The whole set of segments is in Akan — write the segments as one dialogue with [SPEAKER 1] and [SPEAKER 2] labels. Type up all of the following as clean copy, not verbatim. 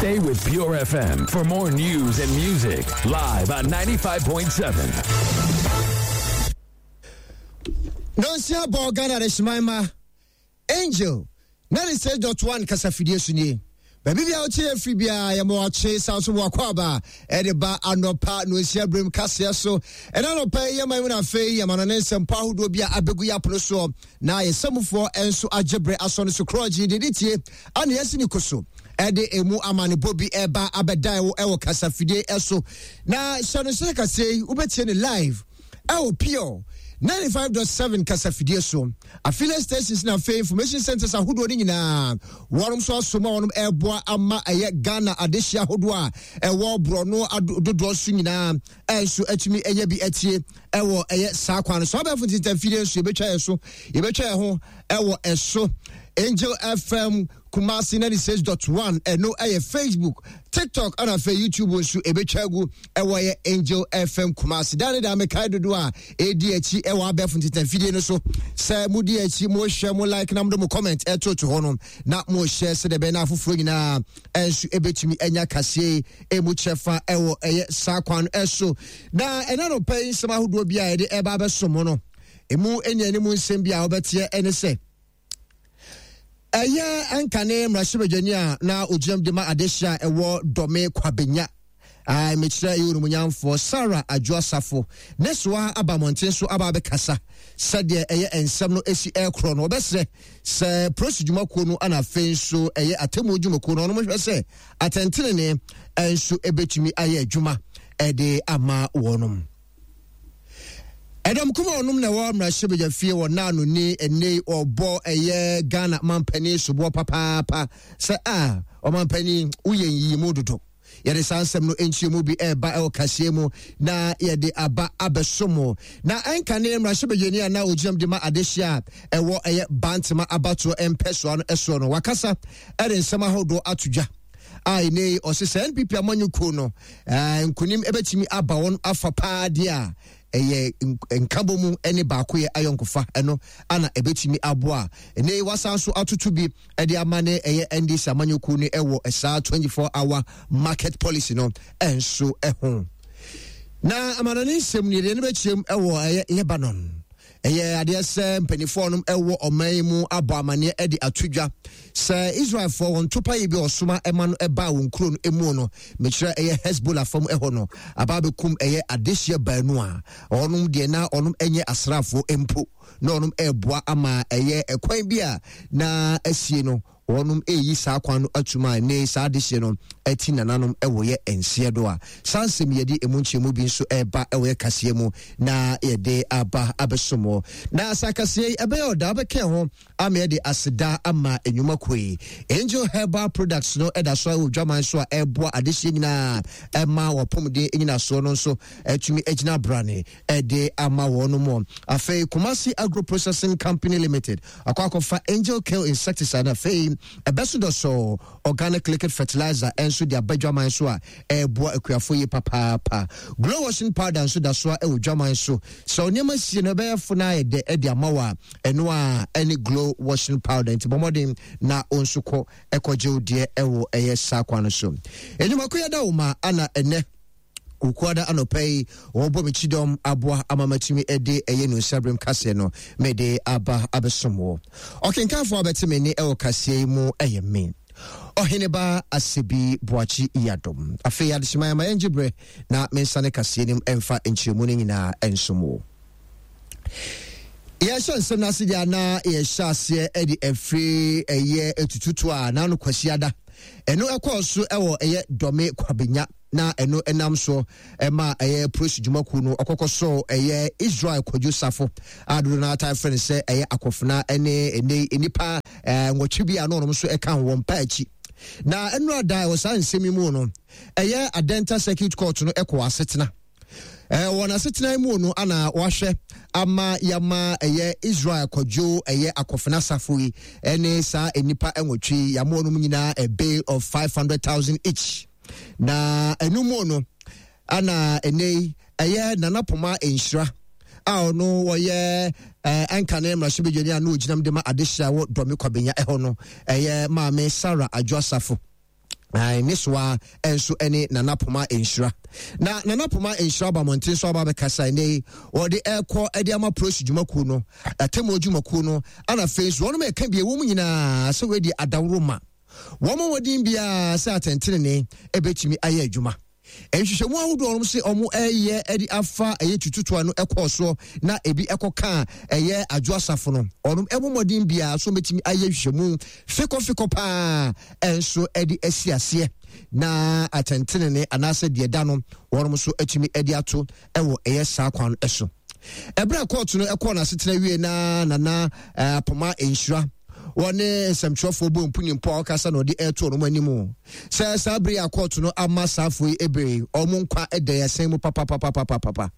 [SPEAKER 1] Stay with Pure FM for more news and music live on 95.7.
[SPEAKER 2] Nonsia bɔ Ghana Adehyeman ma Angel 96.1 kasafidie so nie. Baabi bia wote yɛ firi biara yɛma wakye san so wakɔ aba ɛde ba anɔpa nonsia berem kaseɛ so. Ɛna anɔpa yi yɛma mu no afei yɛma no ne nsɛmpɔ ahodoɔ bi a abɛgu yɛ apono soɔ na yɛsɛmufoɔ nso agye berɛ asɔ no so korɔgye de de tie ana yɛasi ne ko so ɛde emu amanebɔ bi ɛba abɛdan wo ɛwɔ kasafidie ɛso na hyɛ no sɛ kaseɛ yi wobɛtie ne live ɛwɔ pure 95.7 kasafidie so affiliate stations na afei information centers ahodoɔ no nyinaa wɔnom nso asom a wɔnom ɛreboa ama ɛyɛ Ghana adehye ahodoɔ a ɛwɔ borɔno dodoɔ so nyinaa ɛnso atumi ɛyɛ bi atie ɛwɔ ɛyɛ saa kwan no so abɛɛfo ntintanfidie nso yɛbɛtwa yɛ so yɛbɛtwa yɛ ho ɛwɔ ɛso Angel FM Kumasi 96.1 ɛno ɛyɛ Facebook TikTok ɛna afei YouTube nso ɛbɛtwa agu ɛwɔ yɛ Angel FM Kumasi daa ne daa mekae dodo a ɛdi akyi ɛwɔ abɛɛfo ntintanfidie no so sɛ modi akyi mohwɛ mo like na mode mo comment ɛtoto hɔ no na mohyɛ sɛdeɛ ɛbɛyɛ na afoforɔ nyinaa ɛnso ɛbɛtumi anya kaseɛ ɛmu kyɛfa ɛwɔ ɛyɛ saa kwan ɛso na ɛna no pɛ nsɛm ahodoɔ bi a yɛde ɛba abɛso mo no ɛmu ɛni anim nsɛm bi a wɔbɛteɛ ɛne sɛ ɛyɛ ɛnkane mmarahyɛbadwani a na ogyinam de ma adehye a ɛwɔ dɔme kwabenya mekyerɛ ɛyɛ onumunyamfoɔ Sarah Adwo Asafo ne soa aba mmɔnten so aba abɛkasa sɛdeɛ ɛyɛ nsɛm no ɛsi ɛkorɔ no wɔbɛsrɛ sɛ polisi dwumakuo no ana afei nso ɛyɛ atemmuo dwumakuo no ɔnom hwɛ sɛ atɛntenene nso ɛbɛtumi ayɛ adwuma ɛde ama wɔnom. Ɛdɔm kuma ɔnom na ɛwɔ mmarahyɛbadwa fie wɔ naano ni ɛnɛ ɔbɔ ɛyɛ Ghana mampanin soboɔ papaapa sɛ a ɔmampanin woyɛ nyiyimu dodo. Yɛde saa nsɛm no nkyerɛmu bi ɛreba ɛwɔ kaseɛ mu na yɛde aba abɛso mo. Na ɛnka ne mmarahyɛbadwani a na ogyinam de ma adehye a ɛwɔ ɛyɛ Bantama abatoɔ mpɛsoa no ɛsoɔ no wakasa ɛde nsɛm ahodoɔ ato dwa a ɛnɛ yi ɔse sɛ NPP amanyɔkuo no nkonim ɛbɛtumi aba wɔn afa paa deɛ a ɛyɛ nkabɔ mu ne baakoyɛ ayɔnkofa ɛno ana ɛbɛtumi aboa ɛnɛ yi wasan so atoto bi ɛde ama ne ɛyɛ NDC amanyɔkuo no ɛwɔ saa 24 hour market policy no ɛnso ɛho na amanɔne nsɛm no yɛde no bɛkyerɛm ɛwɔ ɛyɛ Lebanon ɛyɛ adeɛ sɛ mpanimfoɔ nom ɛwɔ ɔman yi mu abɔ amaneɛ ɛde ato dwa sɛ Israelfoɔ wɔn topa yi bi ɔsoma ɛma no ɛbaa wɔn kuro no emu no mekyerɛ ɛyɛ Hezbollah fam ɛhɔ no aba abɛkum ɛyɛ adehyeɛ baanu a ɔnom deɛ na ɔnom ɛnyɛ asraafoɔ mpo na ɔnom ɛreboa ama ɛyɛ ɛkwan bi a na asie no wɔnom ɛreyi saa kwan no atum a ne saa adehyeɛ no ati nananom ɛwɔ yɛ nseɛ do a saa nsɛm yɛde ɛmu nkyerɛmu bi nso ɛreba ɛwɔ yɛ kaseɛ mu na yɛde aba abɛsom wɔ na saa kaseɛ yi ɛbɛyɛ ɔda wobɛka ho ama yɛde aseda ama nnwuma kuo yi Angel Herbal Products no ɛda so wɔ dwaman so a ɛreboa adehyeɛ nyinaa ɛma wɔpɔmuden nyinasoɔ no nso atumi agyina brane ɛde ama wɔn mu. Afei Kumasi Agro Processing Company Limited akɔ akɔfa Angel Kill Insecticide na afei ɛbɛso dɔsɔ organic liquid fertilizer nso de aba dwaman so a ɛreboa akuafo yi papaapa. Glow washing powder nso da so a ɛwɔ dwaman so. Sɛ nneɛma sie no ɛbɛyɛ fo na ayɛ dɛ ɛde ama wo a ɛno a ɛne glow washing powder nti bɔ mmɔden na wo nso kɔ ɛkɔgye wo deɛ ɛwɔ ɛyɛ saa kwan no so. Enyimako yɛda wo ma ana ɛnɛ Wukuada anɔpa yi, wɔbɔ me kyidɔm aboa ama matumi de ɛyɛ nunsiaberem kaseɛ no mede aba abɛsom wɔ. Ɔkenkanfoɔ a bɛte me nne ɛwɔ kaseɛ yi mu ɛyɛ me, Ɔheneba Asebi Boakye Yiadom. Afei adehyema ma yɛngye berɛ na mensane kaseɛ no mu ɛmfa nkyerɛmu no nyinaa ɛnsom wo. Yɛhyɛ nsɛm no ase deɛ na yɛhyɛ aseɛ de afiri ɛyɛ atututu a n'ano kwasiada ɛno ɛkɔɔ so ɛwɔ ɛyɛ Dɔme Kwabenya na ɛno ɛnam so ɛma ɛyɛ polisi dwumakuo no ɔkɔkɔ so ɛyɛ Israel Kwadwo Safo a dodo no ata frɛ no sɛ ɛyɛ akɔfena ɛne ɛnɛ nnipa nwɔtwe bi a na ɔnom nso ɛka ho wɔn mpa akyi na ɛno ada ɛwɔ saa nsɛm yi mu no ɛyɛ Adenta Circuit Court no ɛkɔ asetena Wɔ n'asetena mu no ana wahwɛ ama yama ɛyɛ Israel kɔdwo ɛyɛ akɔfena asafo yi ɛne saa nnipa nwɔtwe yama wɔn nyinaa a bail of 500,000 each na ɛno mu no ana ɛnɛ yi ɛyɛ Nana Poma Nhyira a ɔno wɔyɛ ɛnkane mmarahyɛbadwani a na ogyinam de ma adehyɛ wɔ Dɔme Kwabenya ɛhɔ no ɛyɛ maame Sarah Adwo Asafo. Ne soa nso ne Nana Poma Nhyira. Na Nana Poma Nhyira aba mmɔnten so aba abɛkasa ɛnɛ yi, wɔde ɛrekɔ de ama polisi dwumakuo no, atemmuo dwumakuo no, ana afei nso wɔnom ɛka bi ɛwɔ mu nyinaa sɛ wɔadi adaworo ma wɔn mmɔden biara sɛ atɛntenene ɛbɛtumi ayɛ adwuma. Nhwehwɛmu ahodoɔ a wɔn se wɔn ɛyɛ de afa ɛyɛ tututoa no ɛkɔɔ soɔ na ebi ɛkɔka ɛyɛ adwo asafo no, wɔn ɛbɔ mmɔden biara so wɔbɛtumi ayɛ nhwehwɛmu fekɔfekɔ paa ɛnso ɛde asi aseɛ na atɛntenene anaasɛ deɛ da no wɔn nso atumi ɛde ato ɛwɔ ɛyɛ saa kwan ɛso. Ɛberɛ a kɔɔto no ɛkɔɔ n'asetena wie na Nana Apoma Nhyira wɔne nsɛmtwerɛfoɔ bɔ mpunimpo a ɔkasa na ɔde ɛreto wɔn anim sɛ saa bere a kɔɔto no ama saafoɔ yi ebere wɔn nkwa ɛda yɛsɛn mu papapapapapa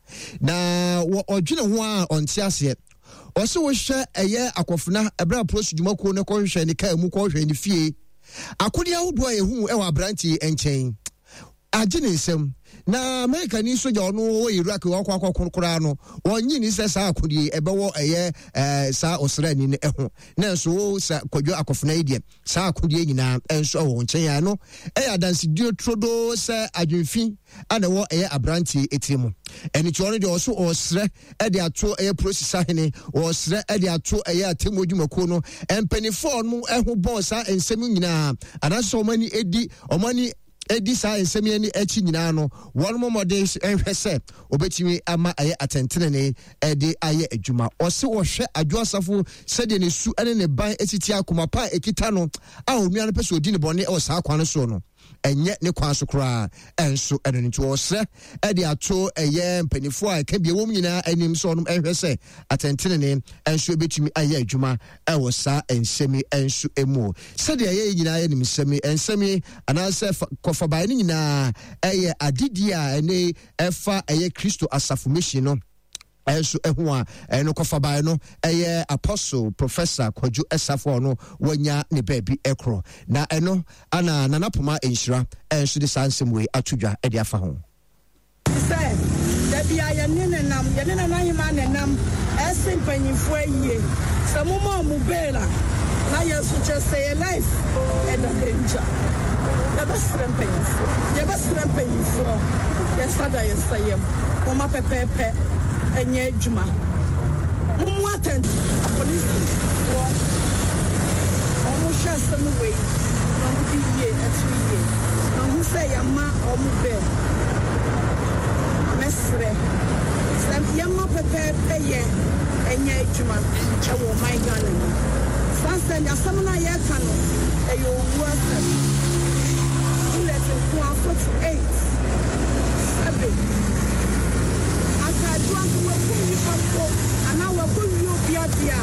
[SPEAKER 2] na ɔdwene ho a ɔnte aseɛ. Ɔsɛ wohwɛ ɛyɛ akɔfena ɛberɛ a polisi dwumakuo no kɔhwehwɛ ne kaa mu kɔhwehwɛ ne fie akodeɛ ahodoɔ a yɛhu ɛwɔ aberanteɛ nkyɛn agye ne nsam. Na Amerikani sogya ɔno wɔ Iraq wakɔ akɔko koraa no, wɔnye ni sɛ saa akodie ɛbɛwɔ ɛyɛ ɛɛ saa ɔsraani no ɛho. Nanso wo sa Kwadwo Akɔfena yi deɛ, saa akodie nyinaa ɛnso ɛwɔ wo nkyɛn a ɛno ɛyɛ adansedie turodoo sɛ adwenfi ana ɛwɔ ɛyɛ aberanteɛ etiri mu. Ɛno nti ɔno deɛ ɔso ɔsrɛ ɛde ato ɛyɛ polisi sahene, ɔsrɛ ɛde ato ɛyɛ atemmuo dwumakuo no mpanimfoɔ a wɔn ɛho bɔɔ saa nsɛm nyinaa anaasɛ wɔn ani edi wɔn ani edi saa nsɛm yi ani akyi nyinaa no, wɔn mmɔden nhwɛ sɛ obetumi ama ɛyɛ atɛntenenee de ayɛ adwuma. Ɔse wɔhwɛ Adwo Asafo sɛdeɛ ne su ne ne ban si tia akoma pa a ekita no a onua no pɛ sɛ odi ne bɔne wɔ saa kwan no soɔ no, ɛnyɛ ne kwan so koraa nso ɛno no nti wɔsrɛ de ato ɛyɛ mpanimfoɔ a ɛka bi ɛwɔ mu nyinaa anim sɛ wɔn nhwɛ sɛ atɛntenenee nso ebetumi ayɛ adwuma wɔ saa nsɛm yi nso mu. Sɛdeɛ yɛn nyinaa yɛnim nsɛm yi, nsɛm yi anaasɛ kɔfabaeɛ no nyinaa ɛyɛ adedie a ɛne ɛfa ɛyɛ Kristo asafo mission no ɛnso ɛho a ɛno kɔfabaeɛ no ɛyɛ Apostle Professor Kwadwo Ɛsafo a ɔno wanya ne baabi ɛkorɔ na ɛno ana Nana Poma Nhyira ɛnso de saa nsɛm wei ato dwa ɛde afa ho.
[SPEAKER 3] Sɛ, da bi a yɛne no nam, yɛne Nana Ahemaa na ɛnam, ɛse mpanyinfoɔ ayie, sɛ moma ɔmo bail a, na yɛn nso kyerɛ sɛ yɛn life ɛda danger. Yɛbɛsrɛ mpanyinfoɔ, yɛbɛsrɛ mpanyinfoɔ, yɛn nsa da yɛn nsa yam, momma pɛpɛɛpɛ ɛnyɛ adwuma, mommu atɛn. Apolisifoɔ, ɔmo hwɛ asɛm wei na ɔmo de yie ɛto yie. Mahu sɛ yɛama ɔmo bail. Mɛsrɛ sɛ yɛmma pɛpɛɛpɛyɛ nyɛ adwuma wɔ ɔman Ghana mu. Sane sɛ asɛm no a yɛreka no, ɛyɛ owuo asɛm. Bullet nko ara, 48, sɛbe. Anka adwo anka wakum nnipa mpo anaa wakɔwie obi adeɛ a,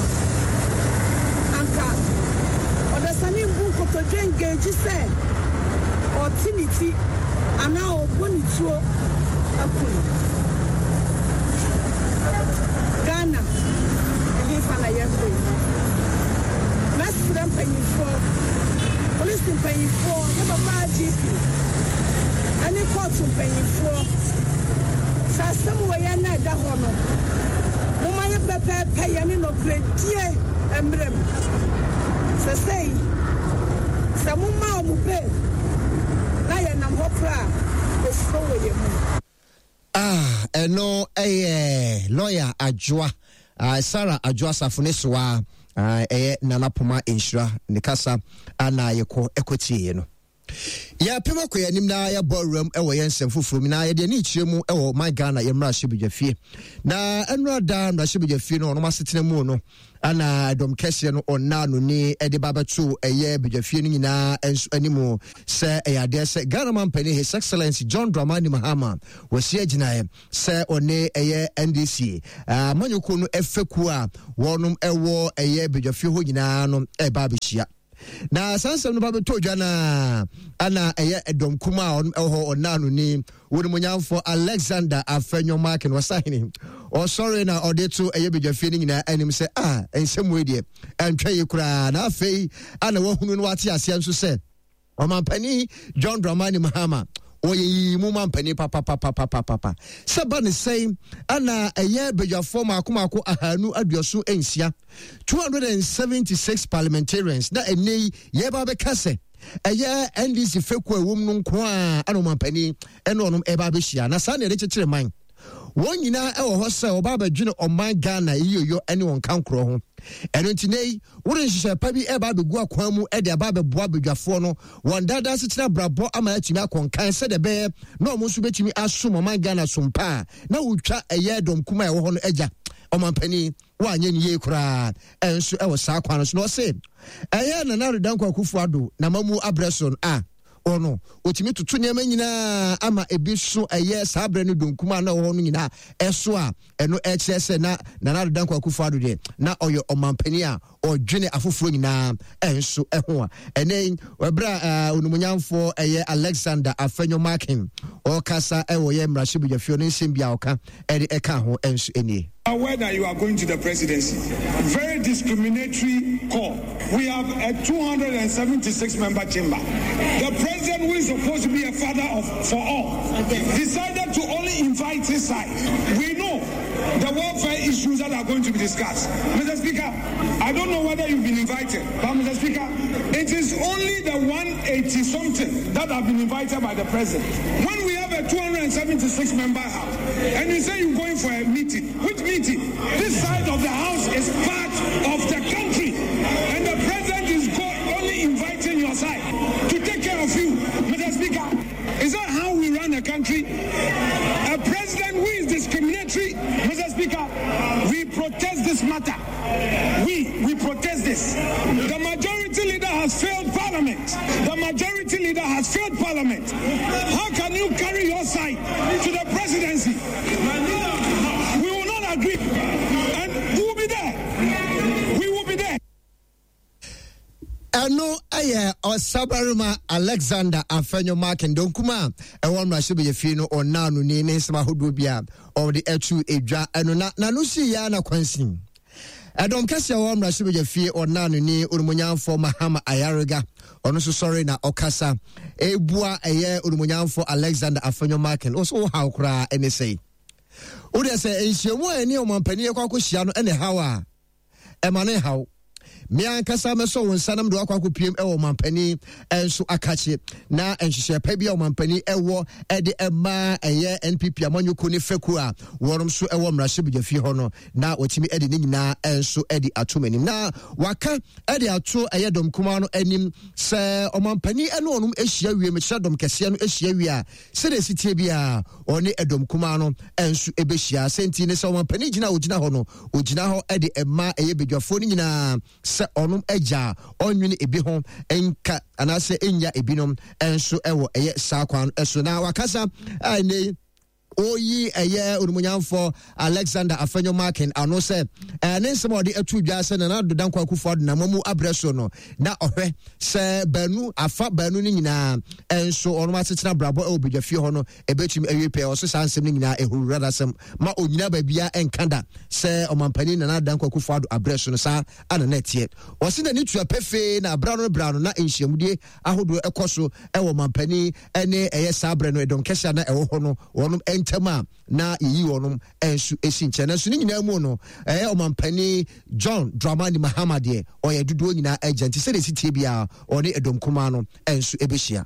[SPEAKER 3] anka ɔdasani mbu nkotodwe engage sɛ ɔte ne ti anaa ɔbɔ ne tuo aku no. Ghana, ɛhefa na yɛrekɔ yi? Mɛsrɛ mpanyinfoɔ, polisi mpanyinfoɔ, yɛ papa IGP, ɛne kɔɔto mpanyinfoɔ, sɛ asɛm wei yɛ na ɛda hɔ no, momma yɛ pɛpɛɛpɛ yɛ ne nɔkorɛdie mmerɛ mu. Sɛsɛi, sɛ moma wɔn bail na yɛnam hɔ koraa a, osuro wɔ yɛn mu.
[SPEAKER 2] Ah, ɛno ɛyɛ lɔya Adwoa, ah, Sarah Adwoa Asafo ne soa, ah, ɛyɛ Nana Poma Nhyira ne kasa ana yɛkɔ ɛkɔtieɛ no. Yɛapem akɔ yɛn anim na yɛabɔ awuram wɔ yɛn nsɛm foforɔ mu na yɛde ani kyerɛ mu wɔ man Ghana yɛn mmarahyɛbadwafie. Na ɛnora da mmarahyɛbadwafie no ɔnom asetena mu no ana ɛdɔm kɛseɛ no ɔnna no ni de ba bɛto ɛyɛ badwafie no nyinaa nso anim sɛ ɛyɛ adeɛ sɛ Ghana mampanin His Excellency John Dramani Mahama wɔasi agyinaeɛ sɛ ɔne ɛyɛ NDC amanyɔkuo no ɛfɛkuo a wɔnom ɛwɔ ɛyɛ badwafie hɔ nyinaa no ɛba abɛhyia. Na saa nsɛm no ba bɛtɔ dwa no a ana ɛyɛ ɛdɔm kum a ɔno ɛwɔ hɔ ɔna no ni wɔnimonyamfoɔ Alexander Afenyo-Markin ɔsahene ɔsɔre na ɔde to ɛyɛ badwafie no nyinaa anim sɛ a nsɛm wei deɛ ɛntwa yi koraa na afei ana wahunu no wate aseɛ nso sɛ Ɔmampanin John Dramani Mahama ɔyɛ yiyi mu mampanin papapapapapa sɛ ba ne sɛn ana ɛyɛ badwafoɔ mako mako 260, 276 parliamentarians na ɛnɛ yi yɛba bɛka sɛ Ɛyɛ NDC fekuo a ɛwɔ mu no nko a ɛna ɔmampanin ɛne ɔnom ɛba abɛhyia na saa na yɛde kyekyere man. Wɔn nyinaa ɛwɔ hɔ sɛ wɔba abɛdwene ɔman Ghana yiyoyɔ ɛne wɔn kankorɔ ho. Ɛno nti nɛ yi wode nhyehyɛ pa bi ɛba abɛgu akwan mu ɛde aba abɛboa badwafoɔ no wɔn daadaa asetena abrabɔ ama atumi akɔ nkan sɛdeɛ ɛbɛyɛ na wɔn nso bɛtumi asom ɔman Ghana som pa a na wotwa ɛyɛ dɔm kuma a ɛwɔ hɔ no agya ɔmampanin Wanyɛ no yie koraa nso wɔ saa kwan no so. Na ɔse ɛyɛ Nana Addo Dankwa Akufo Addo n'amammuo abrɛ so no a ɔno ɔtumi toto nneɛma nyinaa ama ebi so ɛyɛ saa berɛ no donkum a na ɛwɔ hɔ no nyinaa ɛso a ɛno ɛkyerɛ sɛ na Nana Addo Dankwa Akufo Addo deɛ na ɔyɛ ɔmampanin a ɔdwene afoforɔ nyinaa ɛnso ɛho a ɛnɛ yi ɛberɛ a onimonyamfoɔ ɛyɛ Alexander Afenyo Markin ɔkasa ɛwɔ yɛ mmarahyɛbadwafie no nsɛm bi a ɔka ɛde ɛka ho ɛnso ɛnie.
[SPEAKER 4] Aware that you are going to the presidency. Very discriminatory call. We have a 276 member chamber. The president, who is supposed to be a father of for all, decided to only invite his side. We know the welfare issues that are going to be discussed. Mr. Speaker, I don't know whether you've been invited, but Mr. Speaker, it is only the 180 something that have been invited by the president. When we have a 276 member house, and you say you're going for a meeting, which meeting? This side of the house is part of the country, and the president is only inviting your side to take care of you. Mr. Speaker, is that how we run a country? A president who is discriminatory, Mr. Speaker, we protest this matter. We, we protest this. The majority leader has failed parliament. The majority leader has failed parliament. How can you carry your side to the presidency? We will not agree. And we will be there. We will be there.
[SPEAKER 2] Ɛno yɛ Ɔsabarima Alexander Afenyo Markin Donkum a ɛwɔ mmarahyɛbadwafie no ɔnaanoni ne nsɛm ahodoɔ bi a ɔde atu edwa ɛno na n'ano sii ya na kwansin. Ɛdɔm kɛseɛ wɔ mmarahyɛbadwafie ɔnaanoni onimonyamfoɔ Mahama Ayariga ɔno nso sɔre na ɔkasa ebua ɛyɛ onimonyamfoɔ Alexander Afenyo Markin ɔso wo haw koraa ɛne sɛi. Wodeɛ sɛ nhyiamu a ɛne ɔmampanin ɛkɔ akɔhyia no ɛne haw a ɛma ne nhaw. Me ankasa mɛsɔ wo nsa na mede wakɔ akɔpiem wɔ ɔmampanin nso akakye na nhyehyɛe pa bi a ɔmampanin ɛwɔ ɛde ɛma ɛyɛ NPP amanyɔkuo ne fɛkuo a wɔnom nso ɛwɔ mmarahyɛbadwafie hɔ no na wɔtumi ɛde ne nyinaa nso ɛde ato m'anim na waka ɛde ato ɛyɛ dɔm kumaa no anim sɛ ɔmampanin ɛne ɔnom ahyia wie mekyerɛ dɔm kɛseɛ no ahyia wie a Sɛdeɛ ɛsi teɛ biara, ɔne ɛdɔm kumaa no nso bɛhyia. Sɛ nti ne sɛ ɔmampanin gyina a ɔgyina hɔ no, ɔgyina hɔ de mma ɛyɛ badwafoɔ no nyinaa sɛ ɔnom agya a ɔnwene ebi ho nka anaasɛ ɛnnya ebinom nso wɔ ɛyɛ saa kwan no so. Na wakasa a ɛnɛ yi ɔyi ɛyɛ onimonyamfoɔ Alexander Afenyo Markin ano sɛ ɛɛ ne nsɛm a ɔde ato dwa sɛ Nana Addo Dankwa Akufo-Addo na mu abrɛ so no na ɔhwɛ sɛ baanu afa baanu no nyinaa nso ɔnom asetena brabɔ ɛwɔ badwafie hɔ no ɛbɛtumi awie pɛɛ. Ɔso saa nsɛm no nyinaa ɛhurura dasɛm ma ɔnyina baabia ɛnka da sɛ ɔmampanin Nana Addo Dankwa Akufo-Addo abrɛ so no saa ana na ɛteɛ. Ɔse n'ani tua pefee na abra no bra no na nhyiamudie ahodoɔ ɛkɔ so ɛwɔ ɔmampanin ɛne ɛyɛ saa berɛ no ɛdɔm kɛse a na ɛwɔ hɔ no wɔnom ntam a na yɛyi wɔnom nso si nkyɛn. Nanso ne nyinaa mu no ɛyɛ ɔmampanin John Dramani Mahama deɛ ɔyɛ dodoɔ nyinaa agya nti sɛdeɛ ɛsi tie biara ɔne ɛdɔm kumaa no nso ɛbɛhyia.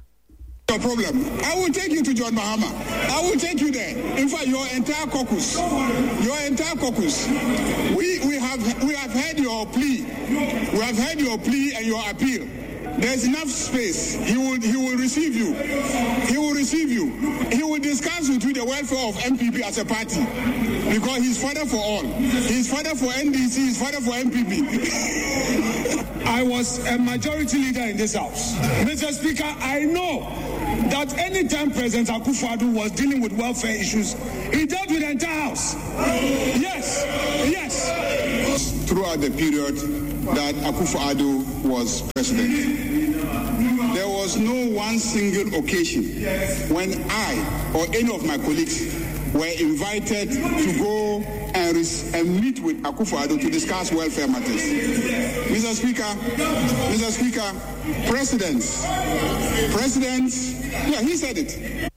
[SPEAKER 4] Your problem. I will take you to John Mahama. I will take you there. In fact, your entire caucus, your entire caucus. We, we have we have heard your plea. We have heard your plea and your appeal. There's enough space. He will he will receive you. He will receive you. He will discuss with you the welfare of MPP as a party. Because he's father for all. He's father for NDC, he's father for MPP. I was a majority leader in this house. Mr. Speaker, I know that anytime President Akufo-Addo was dealing with welfare issues, he dealt with the entire house. Yes, yes.
[SPEAKER 5] Throughout the period that Akufo-Addo was president, there was no one single occasion when I or any of my colleagues were invited to go and, and meet with Akufo-Addo to discuss welfare matters. Mr. Speaker, Mr. Speaker, presidents, presidents, yeah, he said it.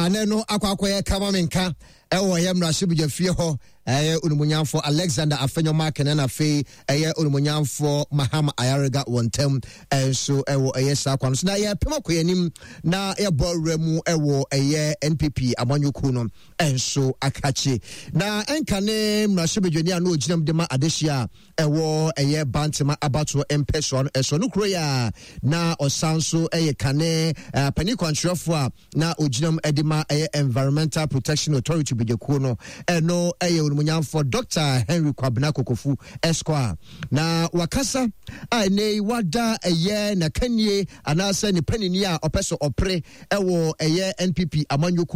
[SPEAKER 2] Na ɛno akɔ akɔyɛ kama me nka ɛwɔ ɛyɛ mmarahyɛbadwa fie hɔ ɛyɛ onimonyamfoɔ Alexander Afenyo Markin ɛna afei ɛyɛ onimonyamfoɔ Mahama Ayariga wɔn ntam ɛnso ɛwɔ ɛyɛ saa kwan so na yɛpem akɔ yɛn anim na yɛbɔ awura mu ɛwɔ ɛyɛ NPP amanyɔkuo no ɛnso akakye na ɛnka ne mmarahyɛbadwani a na ɔgyinam de ma adehyia a ɛwɔ ɛyɛ Bantama abatoɔ mpɛsoa no ɛsoɔ no kuro yɛ a na ɔsan so ɛyɛ kane panin kwankyerɛfoɔ a na ogyinam de ma ɛyɛ Environmental Protection Authority badwakuo no ɛno ɛyɛ onimonyamfoɔ Dr. Henry Kwabena Kokofu Esquire na wakasa a ɛnɛ yi wada ɛyɛ n'akannie anaasɛ ne panini a ɔpɛ so ɔpere ɛwɔ ɛyɛ NPP amanyɔkuo.